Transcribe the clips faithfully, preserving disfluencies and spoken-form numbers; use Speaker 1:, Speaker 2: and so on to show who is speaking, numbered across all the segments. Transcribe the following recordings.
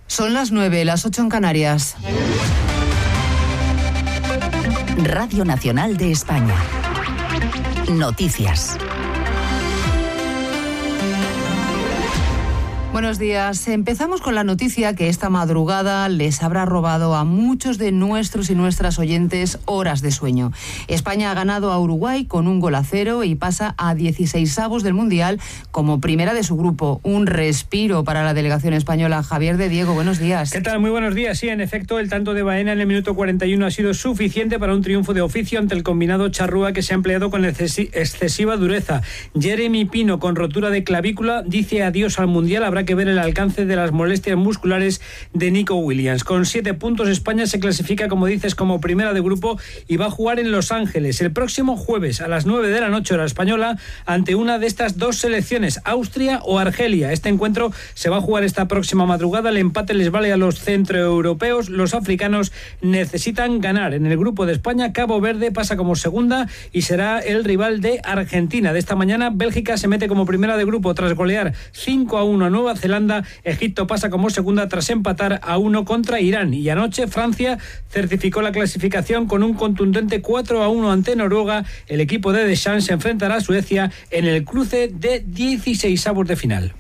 Speaker 1: Son las nueve, las ocho en Canarias.
Speaker 2: Radio Nacional de España. Noticias.
Speaker 1: Buenos días. Empezamos con la noticia que esta madrugada les habrá robado a muchos de nuestros y nuestras oyentes horas de sueño. España ha ganado a Uruguay con un gol a cero y pasa a dieciseisavos del Mundial como primera de su grupo. Un respiro para la delegación española. Javier de Diego, buenos días.
Speaker 3: ¿Qué tal? Muy buenos días. Sí, en efecto, el tanto de Baena en el minuto cuarenta y uno ha sido suficiente para un triunfo de oficio ante el combinado charrúa que se ha empleado con excesiva dureza. Jeremy Pino, con rotura de clavícula, dice adiós al Mundial. Habrá que ver el alcance de las molestias musculares de Nico Williams. Con siete puntos, España se clasifica, como dices, como primera de grupo y va a jugar en Los Ángeles el próximo jueves a las nueve de la noche hora española ante una de estas dos selecciones, Austria o Argelia. Este encuentro se va a jugar esta próxima madrugada. El empate les vale a los centroeuropeos. Los africanos necesitan ganar. En el grupo de España, Cabo Verde pasa como segunda y será el rival de Argentina. De esta mañana, Bélgica se mete como primera de grupo tras golear cinco a uno a Nueva Zelanda. Egipto pasa como segunda tras empatar a uno contra Irán. Y anoche Francia certificó la clasificación con un contundente cuatro a uno ante Noruega. El equipo de Deschamps se enfrentará a Suecia en el cruce de dieciseisavos de final.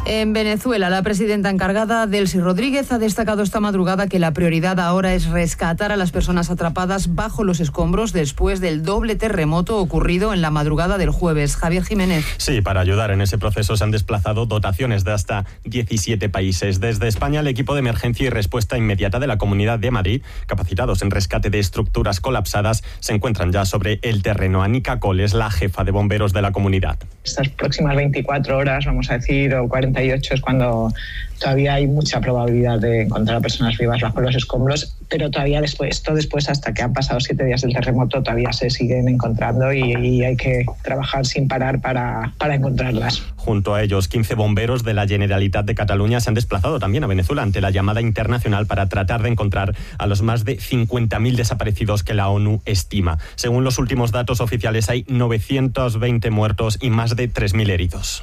Speaker 1: En Venezuela, la presidenta encargada, Delcy Rodríguez, ha destacado esta madrugada que la prioridad ahora es rescatar a las personas atrapadas bajo los escombros después del doble terremoto ocurrido en la madrugada del jueves. Javier Jiménez.
Speaker 4: Sí, para ayudar en ese proceso se han desplazado dotaciones de hasta diecisiete países. Desde España, el equipo de emergencia y respuesta inmediata de la Comunidad de Madrid, capacitados en rescate de estructuras colapsadas, se encuentran ya sobre el terreno. Anica Cole es la jefa de bomberos de la comunidad.
Speaker 5: Estas próximas veinticuatro horas, vamos a decir, o cuarenta y ocho, es cuando todavía hay mucha probabilidad de encontrar a personas vivas bajo los escombros, pero todavía después, esto después, hasta que han pasado siete días del terremoto, todavía se siguen encontrando y, y hay que trabajar sin parar para, para encontrarlas.
Speaker 4: Junto a ellos, quince bomberos de la Generalitat de Cataluña se han desplazado también a Venezuela ante la llamada internacional para tratar de encontrar a los más de cincuenta mil desaparecidos que la ONU estima. Según los últimos datos oficiales, hay novecientos veinte muertos y más de tres mil heridos.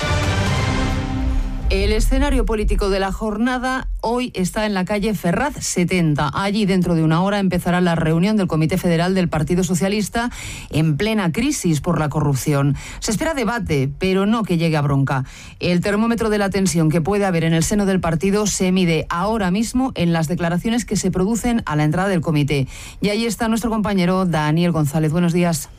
Speaker 1: El escenario político de la jornada hoy está en la calle Ferraz setenta. Allí, dentro de una hora, empezará la reunión del Comité Federal del Partido Socialista en plena crisis por la corrupción. Se espera debate, pero no que llegue a bronca. El termómetro de la tensión que puede haber en el seno del partido se mide ahora mismo en las declaraciones que se producen a la entrada del comité. Y ahí está nuestro compañero Daniel González. Buenos días.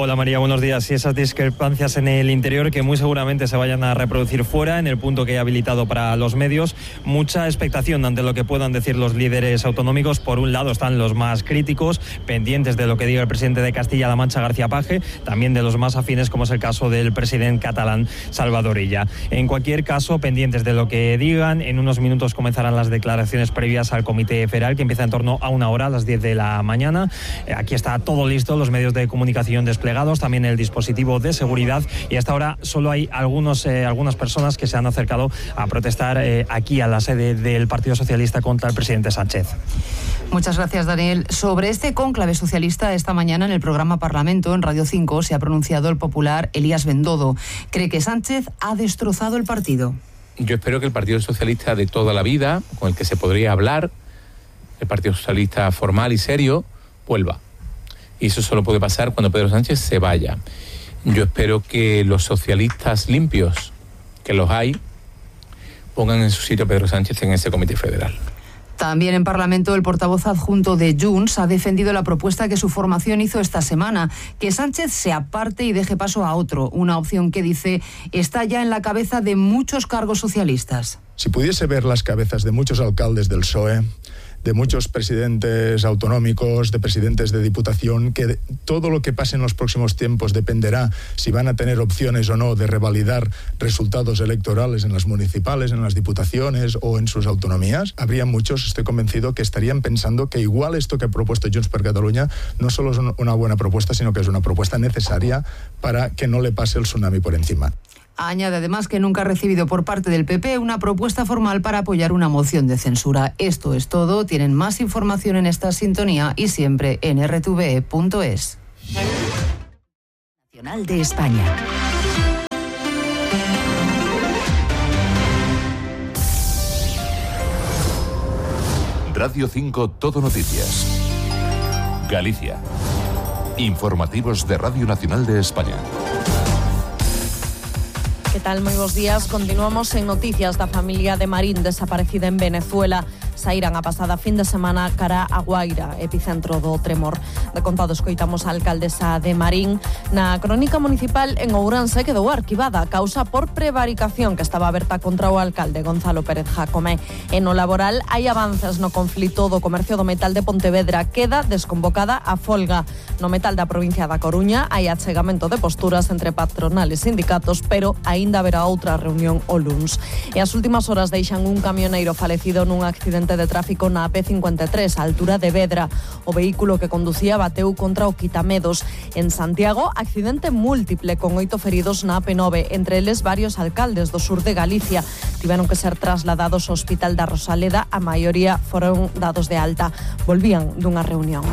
Speaker 6: Hola María, buenos días. Y esas discrepancias en el interior que muy seguramente se vayan a reproducir fuera, en el punto que he habilitado para los medios. Mucha expectación ante lo que puedan decir los líderes autonómicos. Por un lado están los más críticos, pendientes de lo que diga el presidente de Castilla-La Mancha, García Paje, también de los más afines, como es el caso del presidente catalán, Salvador Illa. En cualquier caso, pendientes de lo que digan. En unos minutos comenzarán las declaraciones previas al Comité Federal, que empieza en torno a una hora, a las diez de la mañana. Aquí está todo listo, los medios de comunicación desplegados, también el dispositivo de seguridad, y hasta ahora solo hay algunos, eh, algunas personas que se han acercado a protestar eh, aquí a la sede del Partido Socialista contra el presidente Sánchez.
Speaker 1: Muchas gracias, Daniel. Sobre este cónclave socialista, esta mañana en el programa Parlamento, en Radio cinco, se ha pronunciado el popular Elías Bendodo. Cree que Sánchez ha destrozado el partido.
Speaker 7: Yo espero que el Partido Socialista de toda la vida, con el que se podría hablar, el Partido Socialista formal y serio, vuelva. Y eso solo puede pasar cuando Pedro Sánchez se vaya. Yo espero que los socialistas limpios, que los hay, pongan en su sitio a Pedro Sánchez en ese Comité Federal.
Speaker 1: También en Parlamento, el portavoz adjunto de Junts ha defendido la propuesta que su formación hizo esta semana, que Sánchez se aparte y deje paso a otro, una opción que, dice, está ya en la cabeza de muchos cargos socialistas.
Speaker 8: Si pudiese ver las cabezas de muchos alcaldes del P S O E, de muchos presidentes autonómicos, de presidentes de diputación, que todo lo que pase en los próximos tiempos dependerá si van a tener opciones o no de revalidar resultados electorales en las municipales, en las diputaciones o en sus autonomías. Habría muchos, estoy convencido, que estarían pensando que igual esto que ha propuesto Junts per Catalunya no solo es una buena propuesta, sino que es una propuesta necesaria para que no le pase el tsunami por encima.
Speaker 1: Añade además que nunca ha recibido por parte del P P una propuesta formal para apoyar una moción de censura. Esto es todo. Tienen más información en esta sintonía y siempre en erre te ve punto es.
Speaker 2: Nacional de España.
Speaker 9: Radio cinco Todo Noticias. Galicia. Informativos de Radio Nacional de España.
Speaker 10: Que tal? Moi bons días. Continuamos en noticias da familia de Marín desaparecida en Venezuela. Saíran a pasada fin de semana cara a Guaira, epicentro do tremor. De contado escoitamos a alcaldesa de Marín. Na crónica municipal en Ourense quedou arquivada a causa por prevaricación que estaba aberta contra o alcalde Gonzalo Pérez Jácome. En o laboral hai avances no conflito do comercio do metal de Pontevedra. Queda desconvocada a folga. No metal da provincia da Coruña hai achegamento de posturas entre patronal e sindicatos, pero aínda haberá outra reunión o luns. E as últimas horas deixan un camioneiro falecido nun accidente de tráfico na A P cincuenta e tres, a altura de Vedra. O vehículo que conducía bateu contra o quitamedos. En Santiago, accidente múltiple con oito feridos na A P nove, entre eles varios alcaldes do sur de Galicia. Tiveron que ser trasladados ao Hospital da Rosaleda, a maioría foron dados de alta. Volvían dunha reunión.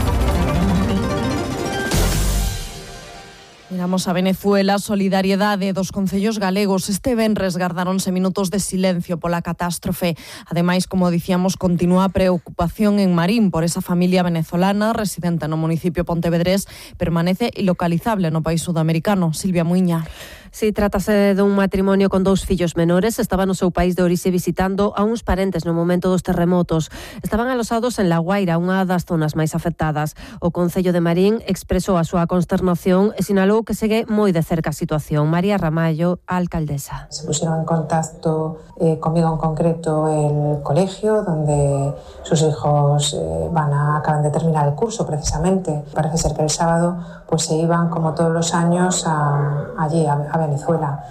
Speaker 10: Miramos a Venezuela. Solidariedade dos concellos galegos. Este venres gardaronse minutos de silencio pola catástrofe. Ademais, como dicíamos, continúa a preocupación en Marín por esa familia venezolana residente no municipio pontevedrés. Permanece ilocalizable no país sudamericano. Silvia Muiña.
Speaker 11: Si trátase dun matrimonio con dous fillos menores, estaba no seu país de orixe visitando a uns parentes no momento dos terremotos. Estaban alosados en La Guaira, unha das zonas máis afectadas. O Concello de Marín expresou a súa consternación e sinalou que segue moi de cerca a situación. María Ramallo, a alcaldesa.
Speaker 12: Se pusieron en contacto eh, conmigo en concreto el colegio donde sus hijos eh, van a acaban de terminar el curso precisamente. Parece ser que el sábado pues se iban como todos los años a, allí a, a Venezuela.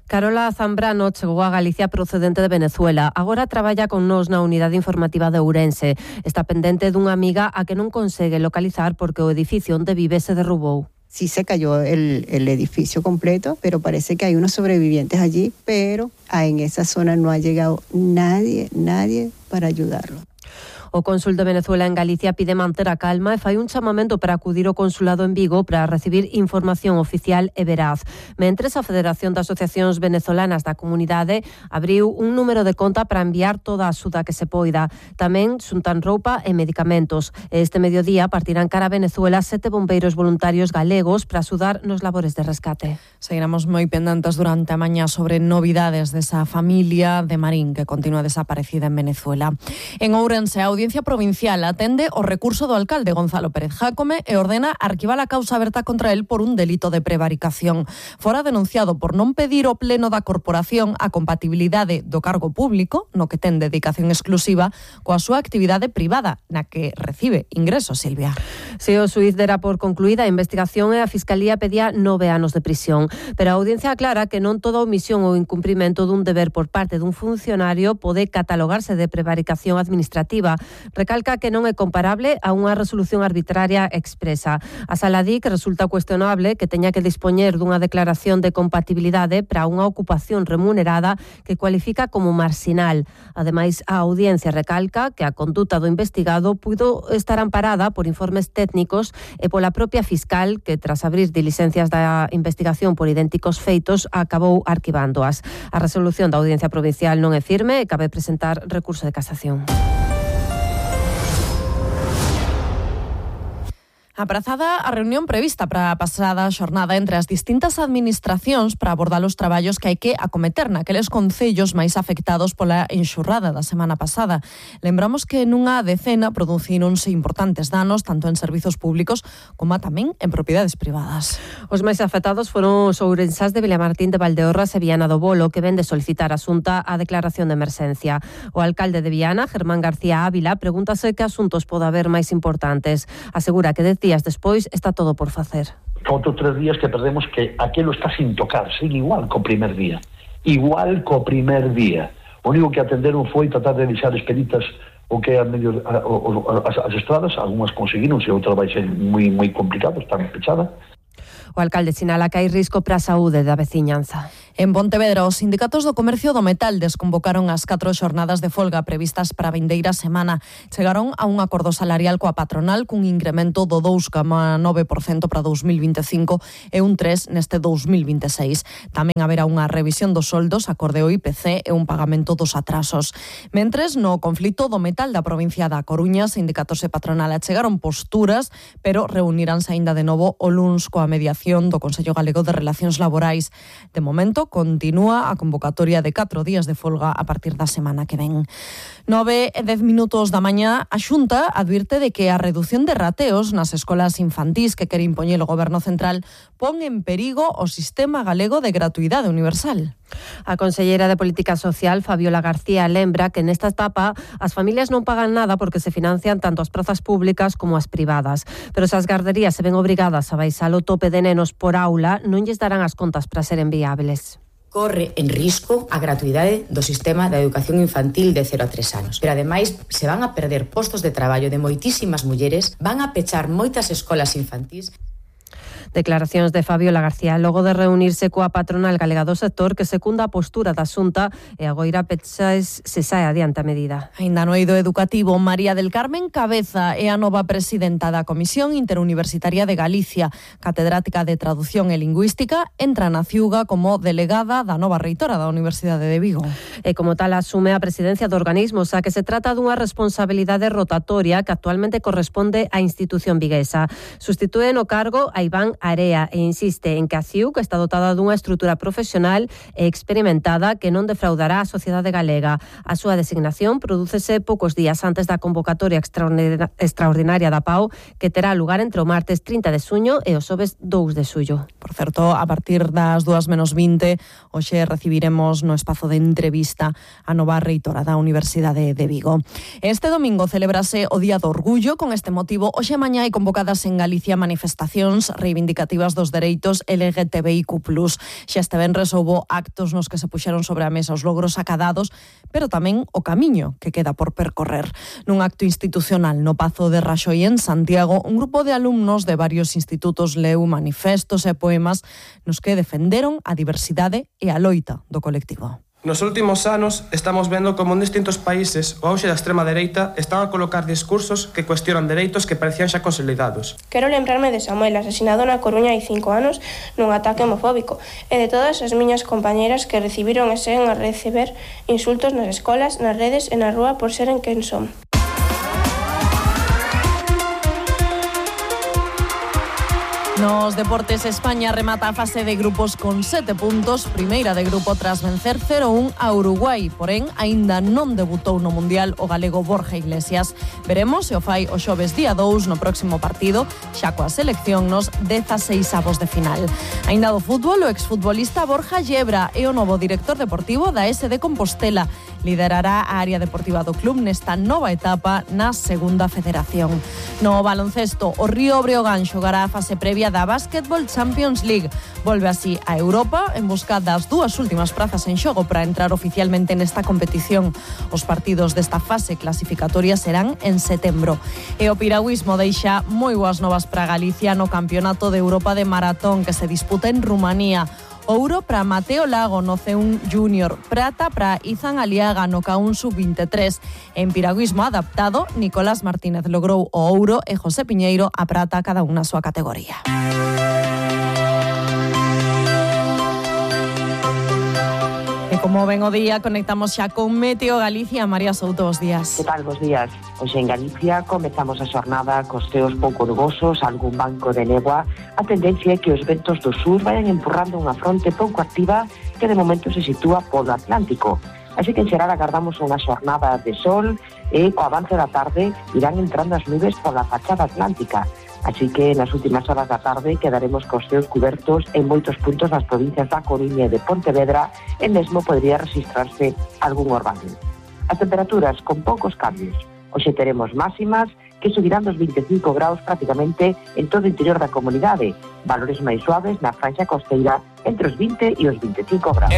Speaker 11: Carola Zambrano chegou a Galicia procedente de Venezuela. Agora traballa con nós na unidade informativa de Ourense. Está pendente dunha amiga a que non consegue localizar porque o edificio onde vive se derrubou.
Speaker 13: Sí se cayó el, el edificio completo, pero parece que hay unos sobrevivientes allí, pero en esa zona no ha llegado nadie, nadie para ayudarlo.
Speaker 11: O cónsul de Venezuela en Galicia pide manter a calma e fai un chamamento para acudir ao consulado en Vigo para recibir información oficial e veraz. Mentres, a Federación de Asociacións Venezolanas da Comunidade abriu un número de conta para enviar toda a axuda que se poida. Tamén xuntan roupa e medicamentos. Este mediodía partirán cara a Venezuela sete bombeiros voluntarios galegos para axudar nos labores de rescate.
Speaker 10: Seguiremos moi pendentes durante a mañá sobre novidades desa familia de Marín que continúa desaparecida en Venezuela. En Ourense, a Audiencia Provincial atende o recurso do alcalde Gonzalo Pérez Jácome e ordena arquivar a causa aberta contra el por un delito de prevaricación. Fora denunciado por non pedir o pleno da corporación a compatibilidade do cargo público, no que ten dedicación exclusiva, coa súa actividade privada, na que recibe ingresos, Silvia.
Speaker 11: Se o xuíz dera por concluída a investigación e a Fiscalía pedía nove anos de prisión. Pero a Audiencia aclara que non toda omisión ou incumprimento dun deber por parte dun funcionario pode catalogarse de prevaricación administrativa. Recalca que non é comparable a unha resolución arbitraria expresa. A Sala di que resulta cuestionable que teña que dispoñer dunha declaración de compatibilidade para unha ocupación remunerada que cualifica como marxinal. Ademais, a Audiencia recalca que a conduta do investigado puido estar amparada por informes técnicos e pola propia fiscal que, tras abrir diligencias da investigación por idénticos feitos, acabou arquivándoas. A resolución da Audiencia Provincial non é firme e cabe presentar recurso de casación.
Speaker 10: Aprazada a reunión prevista para a pasada xornada entre as distintas administracións para abordar os traballos que hai que acometer naqueles concellos máis afectados pola enxurrada da semana pasada. Lembramos que nunha decena producíronse importantes danos tanto en servizos públicos como tamén en propiedades privadas.
Speaker 11: Os máis afectados foron os ourensás de Vilamartín de Valdeorras e Viana do Bolo, que ven de solicitar a Xunta a declaración de emerxencia. O alcalde de Viana, Germán García Ávila, pregúntase que asuntos pode haber máis importantes. Asegura que dez días despois está todo por facer.
Speaker 14: Outros tres días que perdemos que aquilo está sin tocar, sigue igual co primer día. Igual co primer día. O único que atenderon foi tratar de deixar expeditas o que é a medio, a, a, as, as estradas, algunhas conseguiron, se outras vai ser moi moi complicado, están pechadas.
Speaker 11: O alcalde sinala que hai risco para a saúde da veciñanza.
Speaker 10: En Pontevedra, os sindicatos do comercio do metal desconvocaron as catro xornadas de folga previstas para a vindeira semana. Chegaron a un acordo salarial coa patronal cun incremento do dous coma nove por cento para dous mil vinte e cinco e un tres por cento neste dous mil vinte e seis. Tamén haberá unha revisión dos soldos acorde ao I P C e un pagamento dos atrasos. Mentres, no conflito do metal da provincia da Coruña, sindicatos e patronal achegaron posturas, pero reuniránse aínda de novo o luns coa mediación do Consello Galego de Relacións Laborais. De momento, continúa a convocatoria de catro días de folga a partir da semana que ven. Nove e dez minutos da mañá, a Xunta advirte de que a redución de rateos nas escolas infantís que quere impoñer o Goberno Central pon en perigo o sistema galego de gratuidade universal.
Speaker 11: A conselleira de Política Social, Fabiola García, lembra que nesta etapa as familias non pagan nada porque se financian tanto as prazas públicas como as privadas. Pero se as garderías se ven obrigadas a baixar o tope de nenos por aula, non lles darán as contas para seren viables.
Speaker 15: Corre en risco a gratuidade do sistema de educación infantil de cero a tres anos. Pero ademais se van a perder postos de traballo de moitísimas mulleres, van a pechar moitas escolas infantís.
Speaker 11: Declaracións de Fabiola García logo de reunirse coa patronal galega do sector que secunda a postura da Xunta e agoira pechas se sae adiante a medida.
Speaker 10: Ainda no eido educativo, María del Carmen Cabeza é a nova presidenta da Comisión Interuniversitaria de Galicia. Catedrática de Traducción e Lingüística, entra na Ciuga como delegada da nova reitora da Universidade de Vigo.
Speaker 11: E como tal asume a presidencia do organismo, xa que se trata dunha responsabilidade rotatoria que actualmente corresponde á institución viguesa. Sustitúe no cargo a Iván Area e insiste en que a C I U está dotada dunha estrutura profesional e experimentada que non defraudará a sociedade galega. A súa designación prodúcese poucos días antes da convocatoria extraordinaria da P A U que terá lugar entre o martes trinta de xuño e o xoves dous de xullo.
Speaker 10: Por certo, a partir das dúas menos vinte, hoxe recibiremos no espazo de entrevista a nova reitora da Universidade de Vigo. Este domingo celebrase o Día do Orgullo. Con este motivo, hoxe mañá hai convocadas en Galicia manifestacións reivindicativas dos dereitos L G T B I Q plus. Xa este venres houbo actos nos que se puxeron sobre a mesa os logros acadados, pero tamén o camiño que queda por percorrer. Nun acto institucional no Pazo de Raxoi en Santiago, un grupo de alumnos de varios institutos leu manifestos e poemas nos que defenderon a diversidade e a loita do colectivo.
Speaker 16: Nos últimos anos estamos vendo como en distintos países o auxe da extrema dereita están a colocar discursos que cuestionan dereitos que parecían xa consolidados.
Speaker 17: Quero lembrarme de Samuel, asesinado na Coruña hai cinco anos nun ataque homofóbico, e de todas as miñas compañeras que recibiron e seguen a receber insultos nas escolas, nas redes e na rúa por seren quen son.
Speaker 10: Nos deportes, España remata a fase de grupos con sete puntos, primeira de grupo tras vencer cero a un a Uruguai, porén aínda non debutou no Mundial o galego Borja Iglesias. Veremos se o fai o xoves día dous no próximo partido, xa coa selección nos dezaseisavos de final. Aínda do fútbol, o exfutbolista Borja Llebra é o novo director deportivo da S D Compostela. Liderará a área deportiva do club nesta nova etapa na segunda federación. No baloncesto, o Río Breogán xogará a fase previa da Basketball Champions League. Volve así a Europa en busca das dúas últimas prazas en xogo para entrar oficialmente nesta competición. Os partidos desta fase clasificatoria serán en setembro. E o piragüismo deixa moi boas novas para Galicia no Campeonato de Europa de Maratón que se disputa en Rumanía. Ouro para Mateo Lago no C un Júnior, prata para Izan Aliaga no K un sub veintitrés. En piragüismo adaptado, Nicolás Martínez logrou o ouro e José Piñeiro a prata, cada unha na súa categoría. E como ven o día, conectamos xa con Meteo Galicia. María Souto, bos días.
Speaker 18: Que tal, bos días? Hoxe en Galicia comezamos a xornada cos ceos pouco nubosos, algún banco de néboa. A tendencia é que os ventos do sur vayan empurrando unha fronte pouco activa que de momento se sitúa polo Atlántico. Así que en xeral agardamos unha xornada de sol e co avance da tarde irán entrando as nubes pola fachada atlántica. Así que nas últimas horas da tarde quedaremos cos ceos cubertos en moitos puntos das provincias da Coruña e de Pontevedra e mesmo podría registrarse algún orvallo. As temperaturas con poucos cambios. Hoxe teremos máximas que subirán dos vinte e cinco graus prácticamente en todo o interior da comunidade, valores máis suaves na franxa costeira entre os vinte e os vinte e cinco graus.